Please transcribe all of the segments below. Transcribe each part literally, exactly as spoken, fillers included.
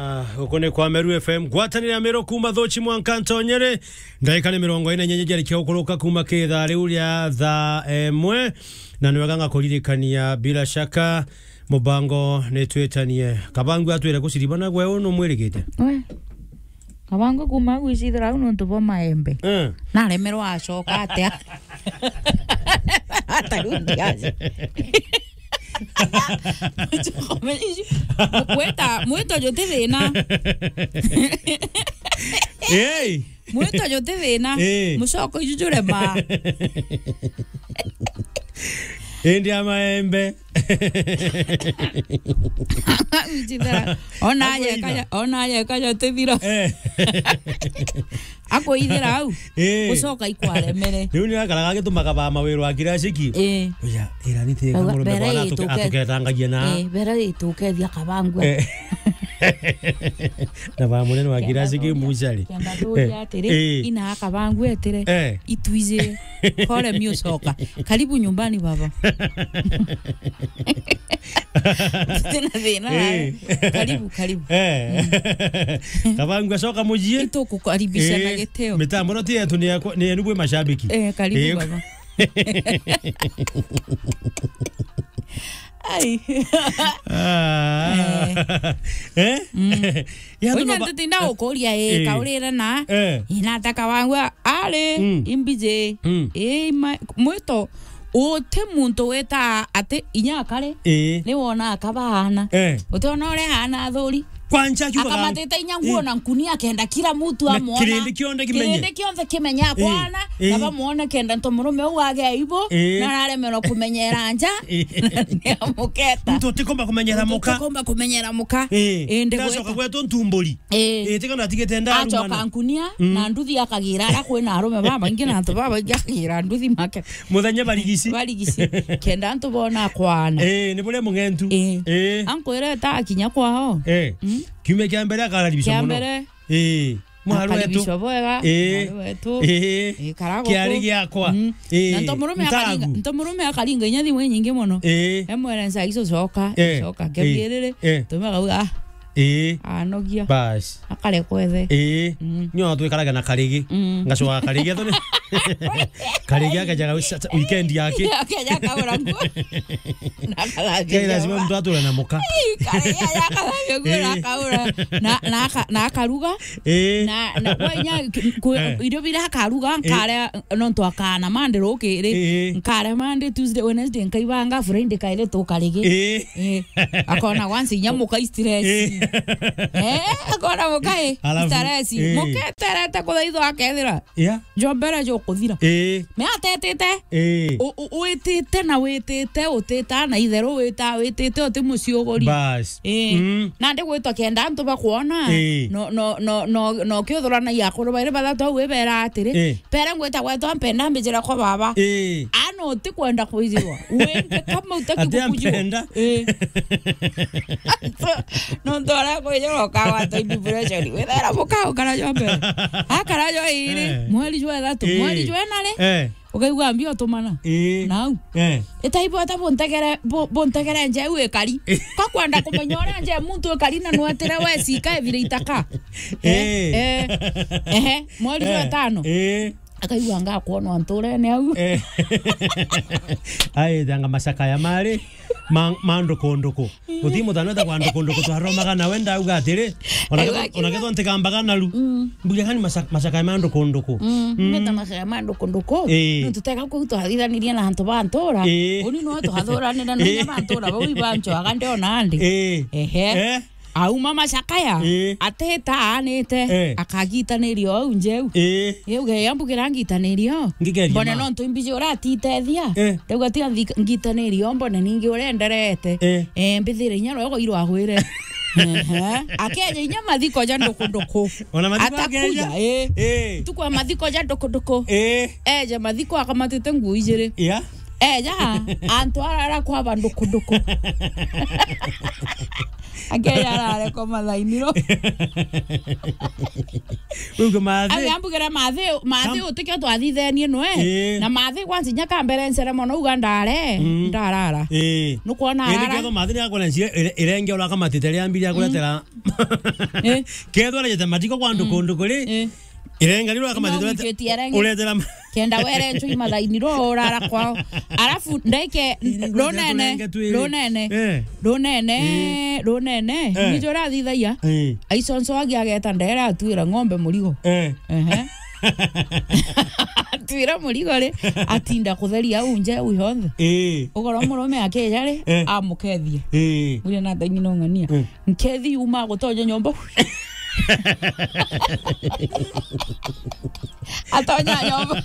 Ah, uku ni kwa Meru F M, ngwataniro ya Meru kuma Thuchi mwanka Ntonyere. Ndagika ni mirongo ina na inyanya jarikia gukuruka kuma ki thaa riu ria thaa imwe. Na ni wega ngakuririkania, bila shaka, mubango ni twitanie. Kabangu atwire guciribana gwe unu mwirigite. We. Kabangu kuma gwicithira au nontu bwa maembe. Eh. Naremerwa acoka atia? Atarundi aje. Mwita, mwito juti thina. Hey. Mwito juti thina. Eh. Mucoko iju jurema. Indi ya maembe. Gwicithira. Ona aje Akwithira. Kaja, ona aje kaja tithira. Eh. Akwithira au. Eh. Gucoka ikwaremere. Riu ni akaraga agitumaga ba mawiro a kiraciki. Eh. Uya, ira ni tega. Auga, murume bera bwana atuke-, ituke-, atuketangagia na. Eh, bera itukethia Kabangu. Eh. Na ba munene wa kiraciki mucari. Kenda turia atiri, eh, ina Kabangu etire. Eh. Itwije. Kore miucoka. Karibu nyumbani, baba. Tena thina, eh. Karibu, karibu. Eh. Mm. Kabangu acoka mucii. Itukukaribisha na gitio. Mitambo no ti yetu, ni yakwa, ni yenu bwi mashabiki. Eh, karibu, eh, baba. Ai. Ah. Eh? Mm. Ya, unya tuno ba-, ntutinda gukuria, eh, eh, kaurire na, eh, inataka wangwa ari, mm, imbiji. Mm. Eh, ma-, mwito, uti muntu wita ati inya akare, eh, ni wona akabana. Eh. Utiona uria ana athuri. Kwanza akiuga akamatite inya nguo, eh, na nkunia akenda kila mtu na amwona. Kirindi kionthe kimenye. Kirindi kionthe kimenye, eh, akwana, eh, na bamwone kenda nto murume uu age aibu, eh, na araremerwa kumenyera nja. Eh. Ni amuketa. Muntu utikomba kumenyera muka. Muntu utikomba kumenyera muka. Eh. Indi ndacoka gweta gwetu ntumburi. Eh. Eh, tika natigite nda acoka arumana. Nkunia, mm, na nduthi akagira ara kwina arume babaingi na antu babaingi akagira nduthi make. Muthenya barigici. Barigici. Kenda antu bona kwana. Eh, ni buria mung'entu. Eh. Eh. Ankwireta akinya kwao. Eh. Mm. Kiumia kia mbere akararibisha muno. Kia mbere. Eh. Mwaru wetu. Akaribishwa bwega. Eh. Mwaru wetu. Eh. Eh, karago kiari ku. Giakwa. Mm. Eh. Na nto murume akaringa, ntagu. Nto murume akaringa inya thimu inyingi muno. Eh. Emwere nsa icio coka, eh, coka, eh, kebiriri. Eh. Tume akauga, ah. Eh. Anogia. Bas. Akarekwa ethe. Ii. Mm. Nyo twikaraga na Karigi. Mm. Ngacoka Karigi, athoni. Karigi akajaga wi-, sa-, sa-, weekend yake. Akaja akaura nguo. Na akathambia. Ke lazima nyumba. Mtu ature na muka. Ii, Karigi aja akathambia nguo na, ii, akaura. Na, na aka-, na akaruga. Ii. Na, na kwa inya ki-, ku-, eh, irio bira akaruga, ii, nkare, nontu akana Monday rukiri. Ii. Nkare Monday, Tuesday, Wednesday, nkaibanga, Friday kaire tu Karigi. Ii. Eh, akona once inya muka stress. Eh. Eh, akona muka, eh, alafu, stress. Eh. Muka eterete kuthaithwa akethira. Yeah. Njombere jo kuthira. Eh. Me atetete. Eh. U-, u-, witite na witite, utita na itheru wita, witite uti muciuguri. Bas. Eh. Mm. Nandi gwitwa kenda antu bakwona. Eh. No, no, no, no, no kiuthuranagia akuru bairi bathatu au ibera atiri. Eh. Pere ngwita gwetwa mpenda mbijira kwa baba. Eh. Ana utikwenda kwijirwa. Wenge kama utaki. Ati gukujirwa. Ampenda. Eh. So, nontu ara kwijirwa ukagwata depression. Withera mukao karajo mbere. Akarajo iri. Eh. Mweri jwa ithatu. Eh. Mweri jwa ina ri. Eh. Ukaigua mbio tumana. Eh. Nau. Eh. Itai bwata buntegere, bu-, buntegere nje u ikari. Eh. Kakwenda kumenya uria nje muntu ikari na nwetire we cika evire itaka. Eh. Eh. Eh. Ehe. Mweri jwa, eh, itano. Eh. Akaigua ngakwonwa nturene au. Eh. Aithanga macakaya mari ma, ma ndukunduku. Uthi muthano ta kwa ndukunduku twaromaga nawe ndauga atiri, ona, aiwa, ketho, ona ketho ntikambaga naru. Mm. Mbuge kani maca-, macakaya ma ndukunduku. Mm. Mm. Meta macakaya ma ndukunduku. Eh. Nontu tega kuu twathithanirie na antu ba ntura. Eh. Uni no twathuranire na, eh, inya ba ntura bau ibanchoaga ndiona andi. Eh. Ehe. Eh. Auma macakaya, ii, ateta aanite, eh, akagitanirio au njeu. Ii. Iu ge yambugira ngitanirio. Ngigeria mbone ma. Nontu imbiji uratitethia. Eh. Ndauga tiga nthi-, ngitanirio, mbone ningi urenderete. Eh. Eh, mbithire inya rwego irwagwire. Ehe. Akeja inya mathiko ja ndukunduku. Ona mathiko akeja? Atakuja, eh. Eh. Ntuku ya mathiko ja ndukunduku. Eh. Eja mathiko akamatite nguo ijiri. Yeah. Eja, antu arara kwaba ndukunduku. Akeja arare kwa mathainiro. Uge mathi. Age ambugire mathi, mathi Kam- utikio twathithenie nwe. Ii. Na mathi kwanza inya kambere ncere mono uga ndare, Mm. ndarara. Ii. Nukwona Indi arara. Ketho mathi ni akwona njia ire-, irenge ura kamatite ria mbiri akuretera. Ii. Ketho arejete matiko kwa nduku, Mm. nduku ri. Ii. Irenga riro akamatete Ino urete-, mwikitie irenge. Uretera ma- Kenda were nchui mathaini ro urara kwao. Alafu ndaike Irenge runene, turenge twiri. Runene. Eh. Runene, Eh. Runene. Eh. Nijo rathithagia. Eh. Aiconswagia ageta ndere atwira ng'ombe murigo. Eh. Ehe. Atwira murigo ri, atinda kutheria au nje au yonthe. Eh. Ugoro murume akeja ri, Eh. Amukethie. Eh. Mwire na thaini no ng'ania. Eh. Nkethi yuma gutonya nyomba. Atonya nyomba.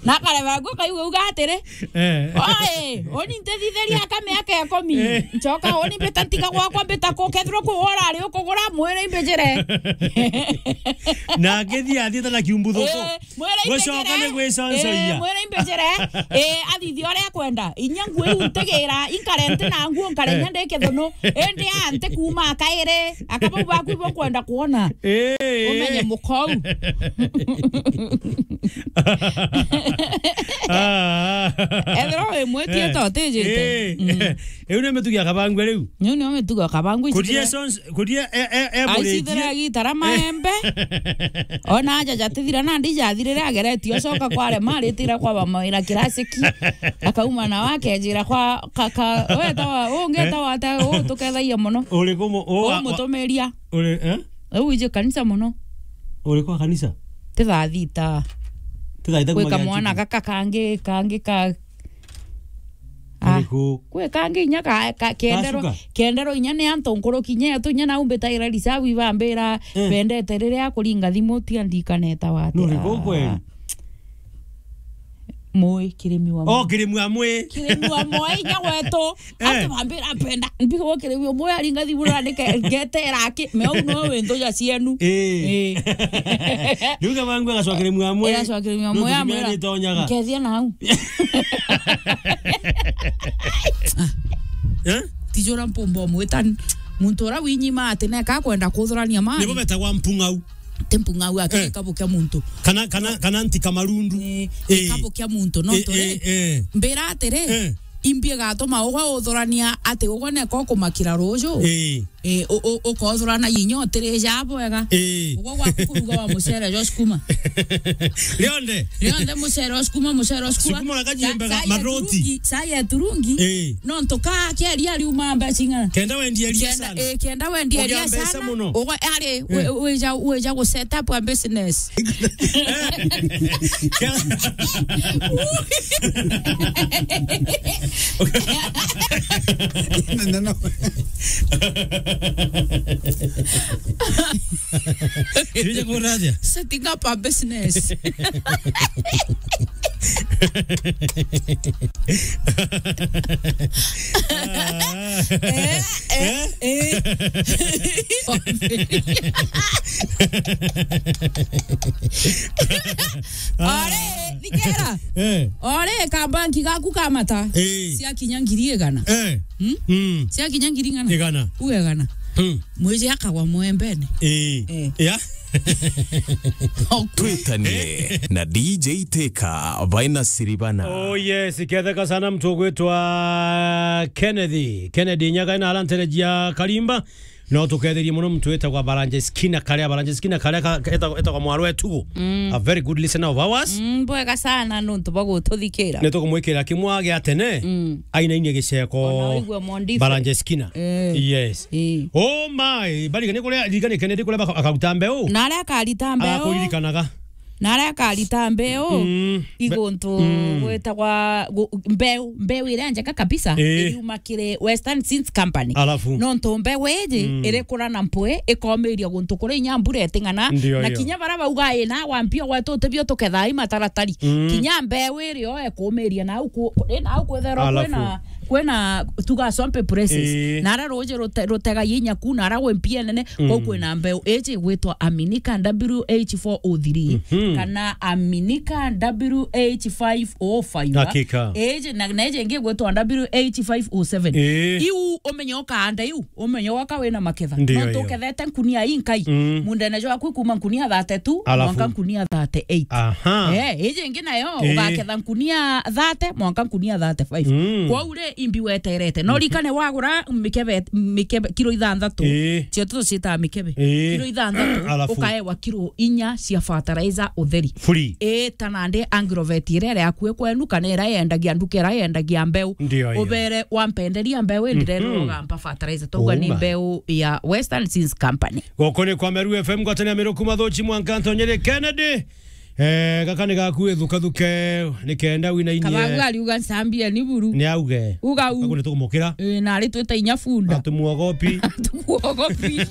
Na kareba guo kaigua uga atiri, Eh. "Oi, uni ntithithiria aka miaka ikumi. Eh. Ncoka uni mbita ntiga gwakwa mbita ku, kethirwa ku urari ukugura mwiri imbijire." Na akithi athiite na kiumbu thuku. Eh. Mwere Gwicoka imbejere. Ni gwiconcoia. Eh, mwere imbejere. Eh, athithia uria akwenda. Inya nguo iu ntigira, inkare nti na nguo, nkare inya ndi kithono. Indi a nti kuuma akairi. Akabau baku ibo kwenda kwona. Eh, eh. Umenye mukou. Ah. Ethirwa wi mwitie Eh. to utijite. Eh. Mm. Iu ni mitugi ya kabangwe riu. Niu nio mitugo ya kabangwe. Kuria icithira- sons-, kuria e, e, e, Aicithira muritie. Gitara maembe. Ona aja jatithira nandi jathirire ageretie ocoka kware maritira kwa bamawira kirasiki. Akauma na wakejira kwa ka, ka, wetawa, ungetawa ata, u tukethagia muno. Uriku mu-, u wa-, wa-, Umutumiria. Uri, eh? U wiji kanisa muno. Uriku wa kanisa? Ti thaa thita. Ti thaa thita. Gwika kuma mwana kianjiki. Gaka kangi, kangi ka Ah, Uriku? Kwi kangi inya ka, ka, kendero, Gacuka? Kendero inya ni antu nkuruki inya yetu inya nau mbitaira risabu ibambira Eh. Bendete riria akuringa thimu tia ndikaneta wate. Nuriku kweli? Mui kirimi wa Oh, mui. Kirimi wa mui. Kirimi wa mui inya wetu. Eh. Ati bambira penda. Mbigo kirimi wa mui aringa thimu na nike ngetera aki. Me au no wendo ja cienu. Eh. Eh. Riu kama ngwe gacwa kirimi wa mui. Ira cwa kirimi wa mui amwira. Ntonyaga. Nkethia na au. Eh? Tijura mpumba umwita muntu ura winyima ati neka kwenda kuthurania mali. Nibo betagwa mpung'au. Ti mpung'au ati Eh. Gikabu kia muntu. Kana, kana, kana nti kamarundu. Eh, Eh. Gikabu kia muntu, no Eh, tore. Eh, eh. Mbira atiri, Eh. Imbi gatuma ugwe uthurania ati ugwe neka ukumakira ruju. Eh. Eh, u-, u-, ukothurana inya utirija bwega. Eh. Ugwe gwaku kuruga wa mucere jo sukuma. Rionde. Rionde mucere o sukuma, mucere o sukuma. Sukuma na kajimbe Sa-, ga sa ya maroti. Turungi, sa ya turungi. Eh. No ntuka kia ria riuma mbeca ing'ana. Kenda wendie ria Kenda, sana. Eh, kenda wendie Ugia ria mbeca sana. Muno. Ugwe, ari, Eh. We, wija, wija gu set up a business. No, no, no. Tuweze kuraja. Setting up a business. Eh, eh, eh. Ore, thikira. Eh. Ore, kabanki gaku ka mata. Eh. Cia kinya ngiri igana. Eh. Hmm? Mm. Cia kinya ngiri igana. Igana. U igana. Mm. Mwiji akagwa mwembene. Eh. Eh. Ya. Twitanie na D J Teka, Vaina Siribana. Oh yes, ketheka sana mtu ugwitwa Kennedy. Kennedy Nyaga na arantereji ya Karimba. No tuketherie muno mtu witagwa Baranje Skinner Karia, Baranje Skinner Karia ka, ka, etagwa, etagwa mwarwe Tugo. Mm. A very good listener of ours. Mm, bwega sana nuntu bwa gututhikira. Nitukumwikira kimwa gia tene. Mm. Ainainie giceko. Ona waigua Mondife. Baranje Skinner. Eh. Yes. Eh. Oh my, bari kene kuria, ririkane kene ndi kuria baka-, akaruta mbeu. Na aria akarita mbeu. Agakuririkanaga. Na aria akarita mbeu, Mm. iguntu Mm. gwitagwa gu-, mbeu, mbeu iria njega kabisa, Eh. Iriuma kiri Western Seeds Company. Alafu? Nontu mbeu iji Mm. irikura na mpwi, ikomiria guntu kuria inya mbura iting'ana, Ndio na hiyo. Kinya baria bauga ina wa mpio gwetu utibio tukethaa i mataratari. Mm. Kinya mbeu irio ekumiria nau ku-, ku-, ina au kwithirwa Alafu? Kwina Kwina tuga Swamp Places. Ii. Na ara ruji rute-, rutega inya ku, na ara gwi mpia nene, mm, kuu kwina mbeu. Iji gwitwa Aminika W H four oh three, mhm, kana Aminika W H five oh five. Hakika. Iji, na, na iji ingi gwitwa W H five oh seven. Ii. Iu umenye ukaanda iu, umenye waka wina maketha. Ndio. No hiyo. Tukethete nkunia inkai. Mm. Mundene jwaku kuma nkunia thirty-two, alafu? Mwanka nkunia thirty-eight. Aha. Eh, iji ingi nayo, ii, ugaketha nkunia thirty, mwanka nkunia thirty-five. Mm. Kwou ri, imbi weterete. No, mhm, rikane wagura mikebe, mikebe, kiro ithanthatu. Ii. Cio tucitaa mikebe. Ii. Kiro ithanthatu, alafu? Ukaewa kiro inya cia fertilizer utheri. Free. Ii, ta nandi agrovet iria iri akui kwenu, kana iria yendagia nduka iria yendagia mbeu. Ndio, ndio. Ubere wampenderia mbeu, ii, ndirenda, mhm, ugamba fertilizer. Twauga ni, uma, mbeu ya Western Seeds Company. Goko ni kwa Meru F M, ngwatanĩro ya Meru kuma Thuchi mwanka Ntonyere Kennedy. Eh, gaka ni gaku, ithukathuke, ni kenda wina inyie. Kabagu ariuga ncambia ni buru. Ni auge. Uga u. Gaku ni tukumukira. Eh, na ari twita inya bunda. Atumuogopi. Atumuogopi.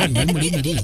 Ni murimi ri?